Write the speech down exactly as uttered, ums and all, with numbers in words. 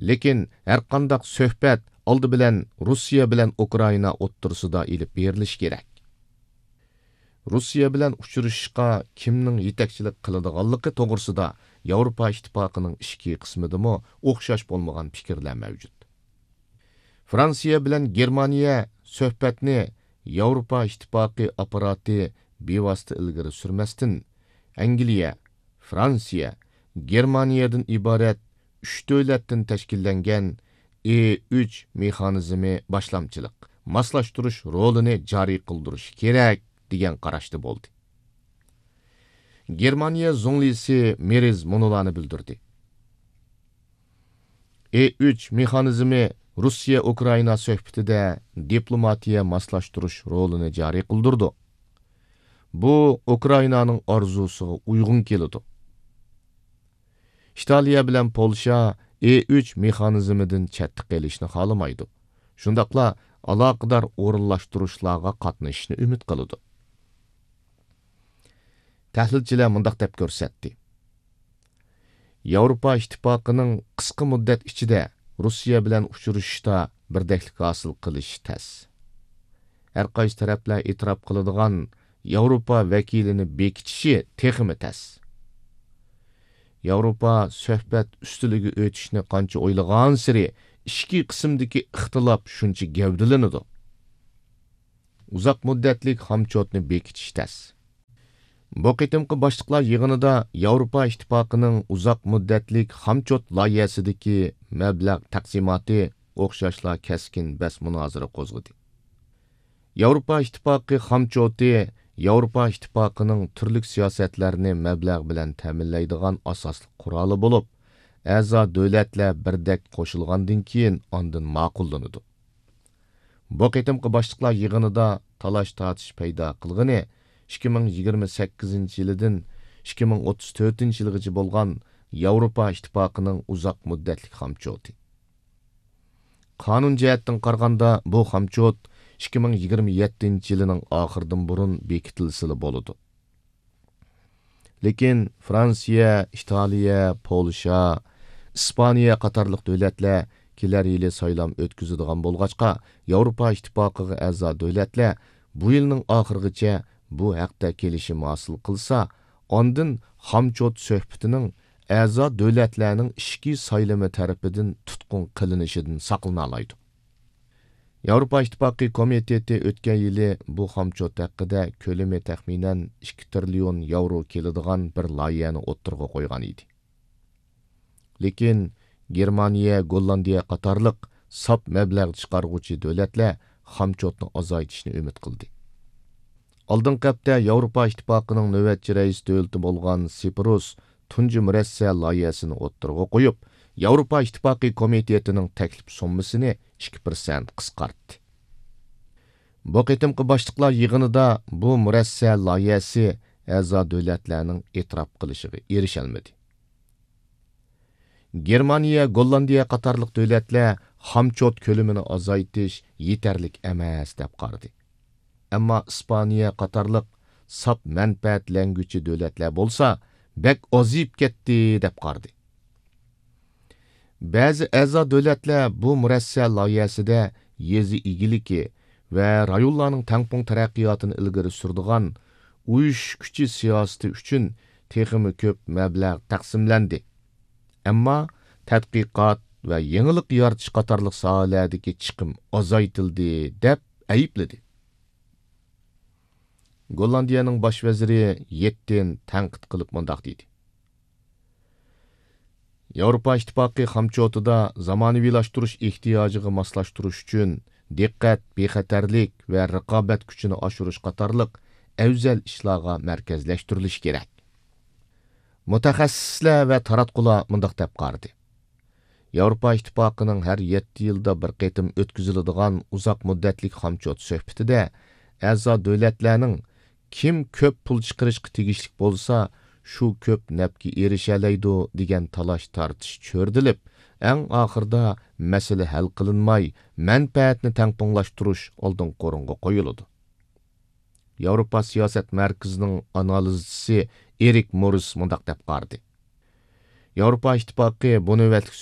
لېكىن ھەرقانداق سۆھبەت ئالدى بىلەن روسىيە بىلەن ئۇكرائىنا ئوتتۇرىسىدا ئېلىپ بېرىلىشى كېرەك. روسىيە بىلەن ئۇچرىشىشقا كىمنىڭ يېتەكچىلىك قىلىدىغانلىقى توغرىسىدا ياۋروپا ئىتتىپاقىنىڭ ئىچكى قىسمىدىمۇ ئوخشاش بولمىغان پىكىرلەر مەۋجۇت. فرانسىيە بىلەن گېرمانىيە سۆھبەتنى ياۋروپا ئىتتىپاقى ئاپپاراتى بىۋاسىتە ئىلگىرى سۈرمەستىن، ئەنگلىيە، فرانسىيە، گېرمانىيەدىن ئىبارەت ئۈچ دۆلەتتىن تەشكىللەنگەن ئې ئۈچ مېخانىزمى باشلامچىلىق، ماسلاشتۇرۇش رولىنى جارى قىلدۇرۇشى كېرەك، دېگەن قاراشتا بولدى. گېرمانىيە زۇڭلىسى مېرز مۇنۇلارنى بىلدۈردى: ئې ئۈچ مېخانىزمى روسىيە ئۇكرائىنا سۆھبىتىدە دىپلوماتىيە ماسلاشتۇرۇش رولىنى جارى قىلدۇرىدۇ. بۇ ئۇكرائىنانىڭ ئارزۇسىغا ئۇيغۇن كېلىدۇ. ئىتالىيە بىلەن پولشا ئې ئۈچ مېخانىزمىدىن چەتتە قېلىشنى خالىمايدۇ. شۇنداقلا ئالاقىدار ئورۇنلاشتۇرۇشلارغا قاتنىشىشنى ئۈمىد قىلىدۇ. تەھلىلچىلەر مۇنداق دەپ كۆرسەتتى: ياۋروپا ئىتتىپاقىنىڭ قىسقا مۇددەت ئىچىدە روسىيە بىلەن ئۇچرىشىشتا بىردەكلىك ھاسىل قىلىشى تەس. ھەرقايسى تەرەپلەر ئېتىراپ قىلىدىغان ياۋروپا ۋەكىلىنى بېكىتىشى تېخىمۇ تەس. ياۋروپا سۆھبەت ئۈستىلىگە ئۆتۈشنى قانچە ئويلىغانسېرى ئىچكى قىسىمدىكى ئىختىلاپ شۇنچە گەۋدىلىنىدۇ. ئۇزاق مۇددەتلىك خامچوتنى بېكىتىش تەس. بۇ قېتىمقى باشلىقلار يىغىنىدا ياۋروپا ئىتتىپاقىنىڭ ئۇزاق مۇددەتلىك خامچوت لايىھەسىدىكى مەبلەغ تەقسىماتى ئوخشاشلا كەسكىن بەس مۇنازىرە قوزغىدى. ياۋروپا ئىتتىپاقى خامچوتى ياۋروپا ئىتتىپاقىنىڭ تۈرلۈك سىياسەتلەرنى مەبلەغ بىلەن تەمىنلەيدىغان ئاساسلىق قورالى بولۇپ، ئەزا دۆلەتلەر بىردەك قوشۇلغاندىن كېيىن ئاندىن ماقۇللىنىدۇ. بۇ قېتىمقى باشلىقلار يىغىنىدا تالاش-تارتىش پەيدا قىلغىنى ئىككى مىڭ يىگىرمە سەككىزىنچى يىلىدىن ئىككى مىڭ ئوتتۇز تۆتىنچى يىلغىچە بولغان ياۋروپا ئىتتىپاقىنىڭ ئۇزاق مۇددەتلىك خامچوتى. قانۇن جەھەتتىن قارىغاندا، بۇ خامچوت ئىككى مىڭ يىگىرمە يەتتىنچى يىلىنىڭ ئاخىرىدىن بۇرۇن بېكىتىلسىلا بولىدۇ. لېكىن فرانسىيە، ئىتالىيە، پولشا، ئىسپانىيە قاتارلىق دۆلەتلەر كېلەر يىلى سايلام ئۆتكۈزىدىغان بولغاچقا، ياۋروپا ئىتتىپاقىغا ئەزا دۆلەتلەر بۇ يىلنىڭ ئاخىرىغىچە بۇ ھەقتە كېلىشىم ھاسىل قىلسا، ئاندىن خامچوت سۆھبىتىنىڭ ئەزا دۆلەتلەرنىڭ ئىچكى سايلىمى تەرىپىدىن تۇتقۇن قىلىنىشىدىن ساقلىنالايدۇ. ياۋروپا ئىتتىپاقى كومىتېتى ئۆتكەن يىلى بۇ خامچوت ھەققىدە كۆلىمى تەخمىنەن ئىككى تىرىليون ياۋرو كېلىدىغان بىر لايىھەنى ئوتتۇرىغا قويغان ئىدى. لېكىن گېرمانىيە، گوللاندىيە قاتارلىق ساپ مەبلەغ چىقارغۇچى دۆلەتلەر خامچوتنى ئازايتىشنى ئۈمىد قىلدى. ئالدىنقى ھەپتە ياۋروپا ئىتتىپاقىنىڭ نۆۋەتچى رەئىس دۆلىتى بولغان سىپرۇس تۇنجى مۇرەسسە لايىھەسىنى ئوتتۇرىغا قويۇپ، ياۋروپا ئىتتىپاقى كومىتېتىنىڭ تەكلىپ سوممىسىنى ئىككى پىرسەنت قىسقارتتى. بۇ قېتىمقى باشلىقلار يىغىنىدا بۇ مۇرەسسە لايىھەسى ئەزا دۆلەتلەرنىڭ ئېتىراپ قىلىشىغا ئېرىشەلمىدى. گېرمانىيە، گوللاندىيە قاتارلىق دۆلەتلەر خامچوت كۆلىمىنى ئازايتىش يېتەرلىك ئەمەس دەپ قارىدى. ئەمما ئىسپانىيە قاتارلىق ساپ مەنپەئەتلەنگۈچى دۆلەتلەر بولسا بەك ئازىيىپ كەتتى دەپ قارىدى. بەزى ئەزا دۆلەتلەر بۇ مۇرەسسە لايىھەسىدە يېزا ئىگىلىكى ۋە رايونلارنىڭ تەڭپۇڭ تەرەققىياتىنى ئىلگىرى سۈرىدىغان ئۇيۇشۇش كۈچى سىياسىتى ئۈچۈن تېخىمۇ كۆپ مەبلەغ تەقسىملەندى. ئەمما تەتقىقات ۋە يېڭىلىق يارىتىش قاتارلىق ساھەلەردىكى چىقىم ئازايتىلدى، دەپ ئەيىبلىدى. گوللاندىيەنىڭ باش ۋەزىرى يېتتىن تەنقىد قىلىپ مۇنداق دېدى: ياۋروپا ئىتتىپاقى خامچوتىدا زامانىۋىلاشتۇرۇش ئېھتىياجىغا ماسلاشتۇرۇش ئۈچۈن دىققەت، بىخەتەرلىك ۋە رىقابەت كۈچىنى ئاشۇرۇش قاتارلىق ئەۋزەل ئىشلارغا مەركەزلەشتۈرۈلۈشى كېرەك. مۇتەخەسسىسلەر ۋە تاراتقۇلار مۇنداق دەپ قارىدى: ياۋروپا ئىتتىپاقىنىڭ ھەر يەتتە يىلدا بىر قېتىم ئۆتكۈزۈلىدىغان ئۇزاق مۇددەتلىك خامچوت سۆھبىتىدە ئەزا دۆلەتلەرنىڭ كىم كۆپ پۇل چىقىرىشقا تېگىشلىك بولسا، شۇ كۆپ نەپكە ئېرىشەلەيدۇ، دېگەن تالاش-تارتىش چۆرىدىلىپ، ئەڭ ئاخىرىدا مەسىلە ھەل قىلىنماي، مەنپەئەتنى تەڭپۇڭلاشتۇرۇش ئالدىنقى ئورۇنغا قويۇلىدۇ. ياۋروپا سىياسەت مەركىزىنىڭ ئانالىزچىسى ئېرىك موررىس مۇنداق دەپ قارىدى: ياۋروپا ئىتتىپاقى بۇ نۆۋەتلىك